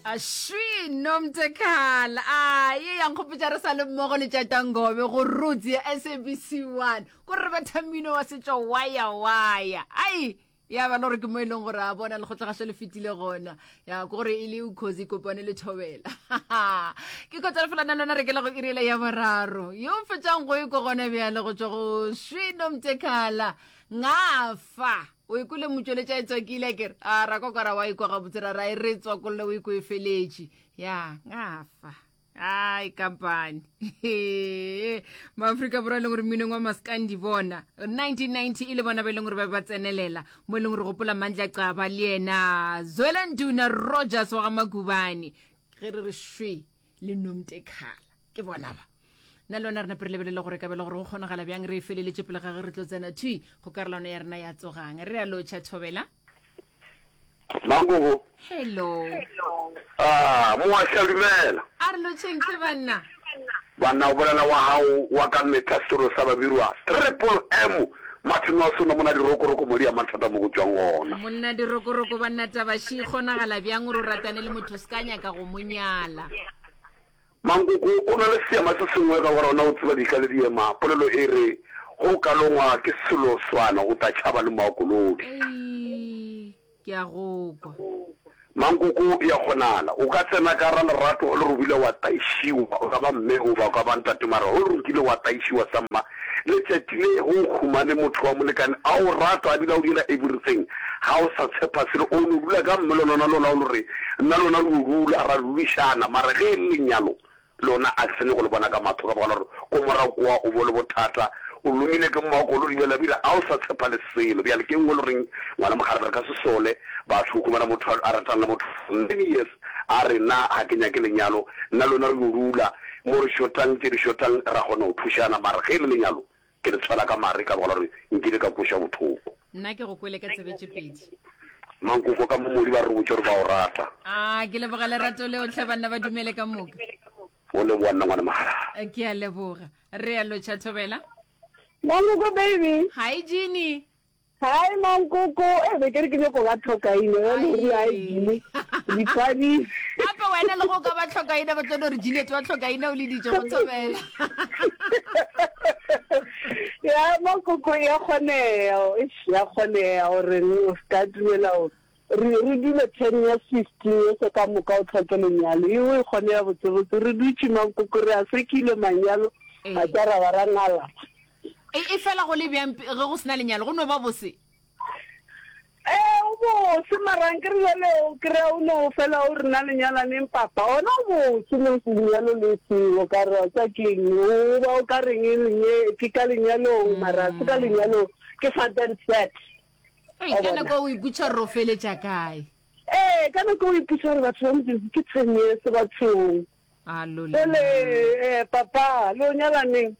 Ashwi Nomtekhala a ye ya nkgopotša re sa le mmogo le tšatangobe go roots ya SABC 1 ko re betha mmino wa setšo waya waya ai ya ba le gore ke mo e leng gore a bona lekgotlagašo le fetile gona ya ke gore e le ukhozi kopane le thobela ke kotsa fela na lona re ke le go irela ya boraro yo fetšang go e ko gona bjale go tšwa go shwi Nomtekhala ngafa O ikwele motšweletša e tswakile a kere a ra kwa kwara wa ikwa gabotse ra ra e re tswakolle o ikwe e feletše ya ngafa ai kampane maaforika borwa e leng gore mminong wa maskandi bona 1990 e le bona ba e leng gore ba ba tsenelela mo e leng gore gopola mandla caba le yena zwela nduna rogers wa ga makubane ge re re shwe le nomtekhala ke bona ba nna le wena re nape re lebelele gore kabelo gore go kgonagala bjang re e feleletše pele ga ge re tlo tsena thwi go karolano ya rena ya tsogang re a lotšha thobela Magogo. Hello. Ah, moaša dumela. A re lotšheng tle banna. Banna o bolela wa gago wa ka mehla selo sa babirwa Triple M Martin wa sona mona dirokoroko modi ya mathata mo go tšwang gona. Monna dirokoroko banna taba še e kgonagala bjang gore o ratane le motho o se ka nyaka go mo nyala. Mankoko o na le seema se sengwe ka gore ona o tseba dika le diema. Polelo e re, Ge o ka longwa ke selo swana o tla tšhaba le moakolodi. Ei, ke a go kwa. Mankoko e a kgonala. O ka tsena ka ra lerato o le re o bile wa taišiwa, o ka ba mme goba o ka ba ntate mara ge o re o kile wa taišiwa samma letšatši le ge o humane motho wa molekane a o rata a bile a o dira everything ga o sa tshepa selo o no dula ka mme lona lona o no re nna lona re yo dula ra dulišana mara ge e le lenyalo lona a ke sa nyako le bona ka mahlo ka baka la gore ko morago kowa o bo le bothata o lomile ke mmaokolo bjale bile a o sa tshepa le selo bjale ke nngwe le goreng ngwana mogare re ka se sole batho o humana motho a ratana le motho for many years a re nna ga ke nyake lenyalo nna lona re yo dula mo re shotang tše di shotang ra kgona go thušana mara ge e le lenyalo ke le tshwela ka mare ka baka la gore nkile ka kwešwa bothoko. Nna ke go kwele ka tsebe tše pedi. Mankoko ka momodi ba re botše gore ba o rata. A ke leboga lerato leo tlhe banna ba dumele ka moka. O leboga nna ngwana mahala. Ke a leboga. Re a lotšha Thobela. Mankoko baby. Hi Jeannie. Hi Mankoko, e be ke re ke nyoko ba tlhokaine, wa le rile hi Jeannie. Dipadi. Gape wena le go ka ba tlhokaina ba tlo no re Juliet wa tlhokaina o leditše go thobela. Ya Mankoko ya kgoneya, eish ya kgoneya gore o ska dumela gore re re dule 10 years 15 years ka moka o tlhoke lenyalo. Eo e kgoneya botsebotse re dutše Mankoko re a sekile manyalo ga ka ra ba ra ngala. E, e fela go le bjang ge go sena lenyalo go no ba bose? Ee, o bose mara nkere jale o kry-a o no fela o re na lenyalaneng papa ona o bose le lenyalo le seo ka re tsa keng o ba o ka reng lenye ke ka lenyalong mara se ka lenyalong ke fat and sad. Ei, ka nako o ipotša gore o feletša kae? Ee, ka nako o ipotša gore batho ba Modimo ke 10 years bathong. Jale eh papa le o nyala neng?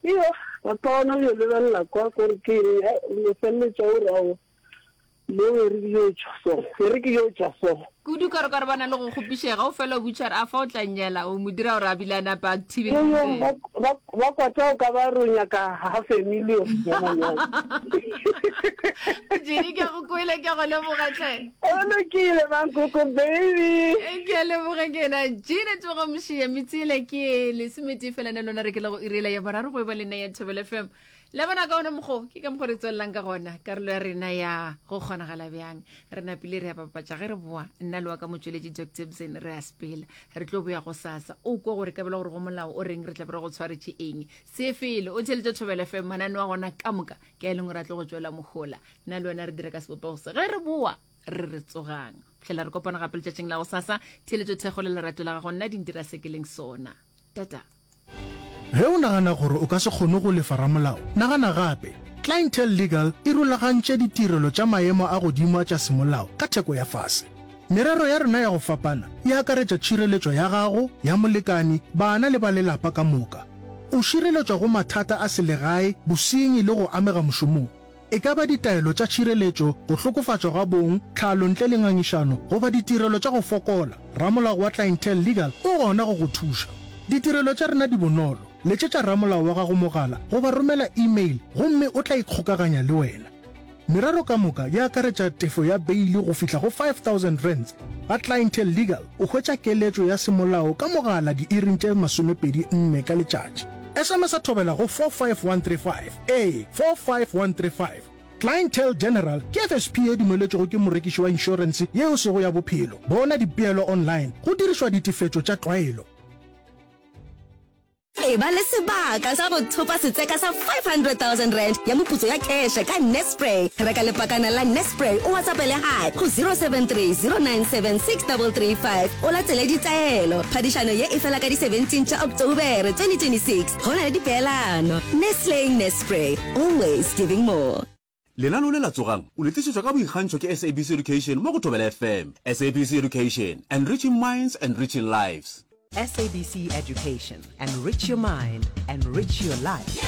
Iyo, papa ona o yo lebelela kwa kore ke eng, hai, o no feleletša o re aowa, mo e re ke yo tšwa so, e re ke yo tšwa so. Kudu ka re ka re ba na le go kgopišega, o fela o botša gore a fa o tla nnyala, o mo dira gore a bile a nape a thibe Yo, yo, ba, ba, ba kwata o ka ba re o nyaka half a million ya manyalo. Jenny, ke a go kwele, ke a go leboga tlhe. O lokile, Mankoko baby. Ke a leboga ke ena Gina Tsoga Mošia metsela ke lesometee fela na lona re ke le go irela ya boraro go e ba le nna ya Thobela FM. Le bona ka ona mokgo ke ka mokgo re tswelelang ka gona karolo ya rena ya go kgonagala bjang re napile re ya bapatša ge re boa nna le wa ka motšweletši Dr Bzen re a sepela re tlo boya go sasa o kwa gore ka bela gore go molao o reng re tla be re go tshwaretše eng se fele o theletše Thobela FM manane wa gona ka moka ke a e leng gore a tlo go tšwela mohola nna le wena re dire ka sebopego se ge re boa re re tsogang tlhela re kopana gape letšatšing la go sasa theeletšo thekgo le lerato la gago nna di ntira se ke leng sona tata Ge o nagana gore o ka se kgone go lefa ramolao, nagana gape. Clientele Legal e rulagantše ditirelo tša maemo a godimo a tša semolao ka theko ya fase. Merero ya rena ya go fapana e akaretša tšhireletšo ya gago, ya molekani, bana le ba lelapa ka moka. O šireletšwa go mathata a selegae, bosenyi le go amega mošomong. E ka ba ditaelo tša tšhireletšo, go hlokofatšwa ga bong, tlhalo ntle le ngangišano, goba ditirelo tša go fokola, ramolao wa Clientele Legal o gona go go thuša. Ditirelo tša rena di bonolo, letšetša ramolao wa gago mogala goba romela email gomme o tla ikgokaganya le wena. Merero ka moka e akaretša tefo ya beili go fihla go R5000. Ga Clientele Legal o hwetša keletšo ya semolao ka mogala diiring tše 24 ka letšatši. SMS-a thobela go 45135, ee, 45135. Clientele General ke FSP ye dumeletšwego ke morekiši wa inšorense ye e sego ya bophelo. Bona dipeelo online go dirišwa ditefetšo tša tlwaelo. Eba le sebaka sa go thopa setseka sa R500,000 ya moputso ya kheše ka Nespray. Reka lepakana la Nespray o WhatsAppele Hi go 073 097 6335 o latele ditaelo. Phadišano ye e fela ka di 17 tša Oktobere 2026. Go na le dipeelano. Nestle Nespray, always giving more. Lenaneo le la Tsogang! o le tlišetšwa ka boikgantšho ke SABC Education mo go Thobela FM. SABC Education, enriching minds, enriching lives. SABC Education, enrich your mind, enrich your life.